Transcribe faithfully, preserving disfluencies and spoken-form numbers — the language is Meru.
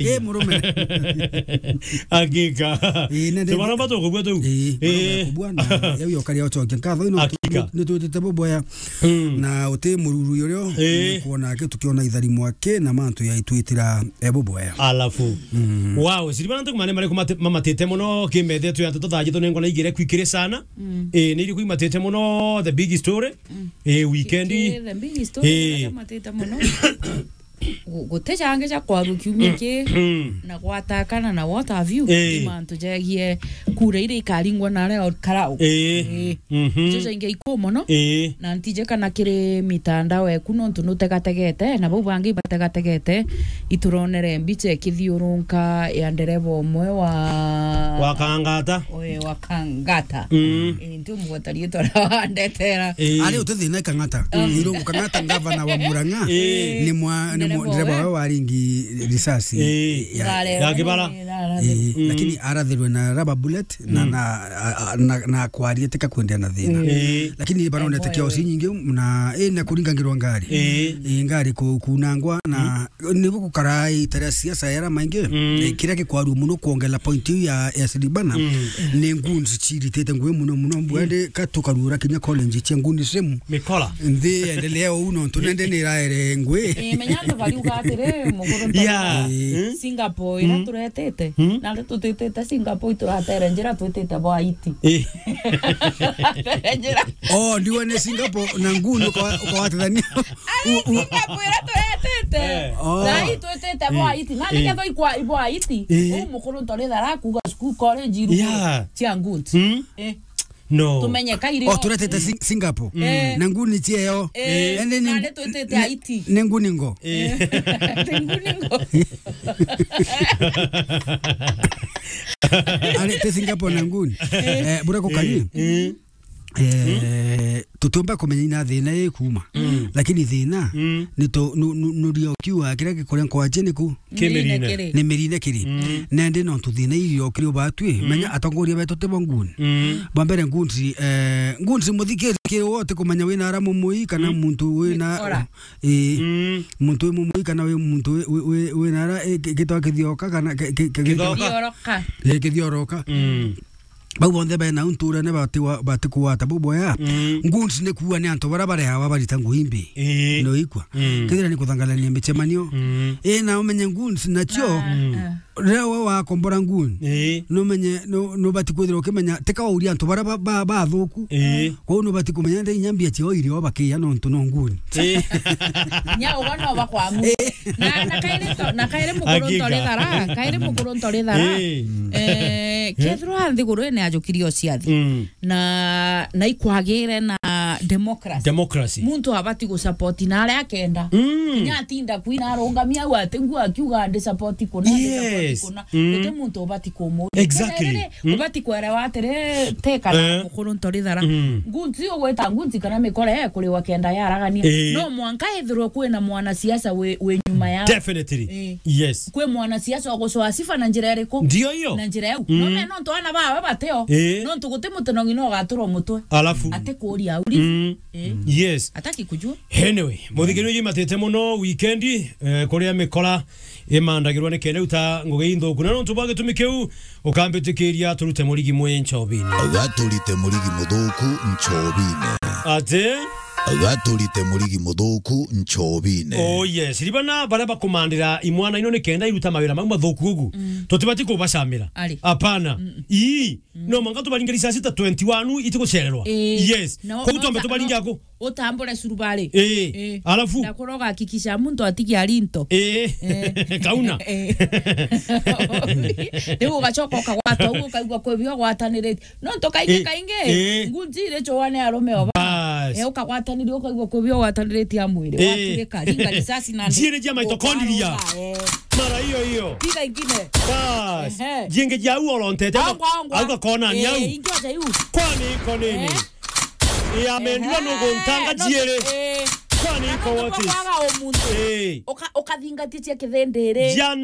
Eh, murume. Hakika. Eh, nende. Tumaromba tukubua tu. Eh, murume kubua na yau yokaria ucokia nkatho ino. Hakika. Nitwitite buboya. Mm. Na uti mururu urio. Eh. Kuona ake tukiona ithari mwake na mantu ya itwitira, eh, buboya. Alafu. Mm. Wow, siriba nantu kumane mare kumate-, mamatite muno kimethe tu ya nteto thaji tu nengona igire kwikire sana. Mm. Eh, ni iri kuimatite muno the big story. Mm. Eh, weekend. Kiki the big story. Eh. Matite muno. Gu-, guti jangi ja kwaru kiumia ki, na gwatakana na what have you, eh, ni mantu jegie kura iria ikaringwa na aria karau. Eh. Eh. Mhm. Icio jaingi ikuu mono. Eh. Na ntije kana kiri mitandao eku nontu nutegategete, na bau bangi ibategategete, ituronere mbicha ikithiurunka ya ndereva umwe wa Wa Kangata. Oe, wa Kangata. Mm. Eh, nti umugweta riitwa ria wandetera. Eh. Ari uti thina Kangata. Mm. Irungu Kangata, ngavana wa Murang'a. Eh. Ni mwa-, ni mu-, ndereva wawe waringi risasi. Eh. Ya kibara. Eh, mm, lakini arathirwe na rubber bullet na, mm, na, a, a, na, na kwaria tika kwendea na thina. Mm. Eh. Lakini baronete kiosi nyingi na, eh, na kuringangirwa ngari. Eh. Eh, ngari ku-, kunangwa na, mm, ni gukara ita ria siasa yara maingi. Mm. Eh, kiria gikwarua muno kuongela point iu ya, ya Siribana, mm, ni goons ciritite ngui muno muno. Mbwende ka tukarura kinya college cia nguni semu. Mikora. Nthi endelea uu nontu nende ni iraere ngui. Eh, menya antu bariuga atiri, mukuru nta-, yeah, eh, Singapore ira, mm, turetete. Mm. Na ri tutitite Singapore, ituratere njira twitite bwa Haiti. Eh. Njira. Oh, ndiwe ni Singapore na nguni ukawa-, ukawatithania. Ai, u-, u-, Singapore ira turetete. Eh. Oh. Na hii twitite bwa Haiti. Na, eh, niketho ikwa ibwa Haiti. Eh. Uu mukuru nta ri thara kuga school college iru, yeah, cia nguni. Mm. Eh. No. Tumenye kairi. Oh, turetete Sing-, Singapore. Eh. Na nguni cieo. Eh. Ende ni, na nitwitite Haiti. Ni nguni ngo. Eh. Ni nguni ngo. Ari te Singapore na nguni. Eh, bura kukari. Eh. Eh, tutiumba kumenya ina thina ikuuma. Mm. Lakini thina, mm, ni tu-, nu-, nu-, nurio kiuga kiria gikuria nkwache niku. Kimirine. Ni mirine kiri. Mm. Nende nontu thina irio kiri ubatwi, mm, menya atongoria betu ti bo nguni. Mm. Bwa mbere nguni, eh, nguni muthikiri kiri wote kumenya wina ara mumui kana, mm, muntu wina, eh, mm, muntu wi mumui kana wi muntu wi, wi, wi, wina ara, eh, ki-, gitwa kithioka kana ki-, ki-, ki-, gitwa-, kithioroka. Eh, kithioroka. Mm. Bau bonthe bena untu uria ni bati wa-, bati kugwata buboya. Mm. Goons ni kuuga ni antu baria bareawa barita ngui mbi. Ii. No ikwa. Mm. Kethira ni kuthangarania micemanio. Mm. Ii, na umenye goons nacio, ah, mm, ah, riria we wakombora goon, ii, numenye, nu-, nubati kwithirwa ukimenya, tika wauria antu baria ba-, ba-, bathuku. Ii. Kwou nubati kumenya ndi inya mbia ciao irio bakiya nontu no goon. Ii. Nya ugo no bakwamu. Ii. Na, na kairi to-, na kairi mukuru ntori thara, kairi mukuru ntori thara. Ii. Eh, kethirwa nthiguru ine ajukirio ciathi. Mm. Na, na ikwagire na democracy. Democracy. Muntu abati gusupport na aria akenda. Mm. Kinya atinda kwina arungamia au ati ngu akiuga ndi support kuna, ndi support, yes, kuna. Mm. Guti muntu ubati kumuria. Exactly. Riri, mm, ubati kwerewa atiri, te kana, eh, mukuru ntori thara. Mm. Ngunzi ugwita ngunzi kana mikore ekuriwa kenda yaragania. Eh. No mwanka ethirwe kwina mwanasiasa wi, wi nyuma yao. Definitely. Eh. Yes. Kwi mwanasiasa ugucwa sifa na njira iriku? Ndio hiyo. Na njira yau. Mm. None nontu ana bawe bateo. Eh. Nontu guti muti no ng'ina ugaturwa mutwe. Alafu. Ati kuria auri. Mm. Eh. Yes. Ataki kujua. Anyway, muthikiriria imatite muno weekend, eh, kuria mikora imandagirwa ni kenda uta ngugi inthuku. Na nontu bwa gitumi kiu, ukambitikiria turute murigi mwe nchobini. Gaturite murigi muthuku nchobini. Ati? Gaturite murigi muthuku nchobini. Oh yes, ribana baria bakumandira imwana ino ni kenda iruta mawira mau mathuku ugu. Mm. Tutibati kubacamira. Ari. Hapana. Mm-mm. Ii. Mm. No mwanka tubaringe risasi ta twenty-one itigucererwa. Ii. Yes. No, koguo no, twambe no, tubaringe ako. Utambure surubari. Ii. Ii. Alafu? Na kuroga hakikisha muntu atigi arinto. Ii. Ii. Kauna. Ii. Riu ugacoka ukagwata uguo, ukaigua kwi bio gwatanirite. Nontu kaingi, eh, kaingi, eh, ngunzi iri cua ni arume oba. Bas. Eh, ukagwataniria ukaigua kwi bio gwataniritie a mwiri. Eh. Watirika, ringa risasi na njiiri cia mitochondria. Ukaroga, eh. Mara hiyo hiyo. Piga ingine. Bas. Ehe. Jingi ja u orontete. Ongwa, ongwa. Au gakona ni au. Eh, ingi aja yu. Kwani iko nini? Eh. Ya mendua, ehe, nuguntanga no, njiiri. Eh. Kwani iko what is? Kwaga umuntu. Eh. Uka-, ukathingatia cia kithindiri. Jana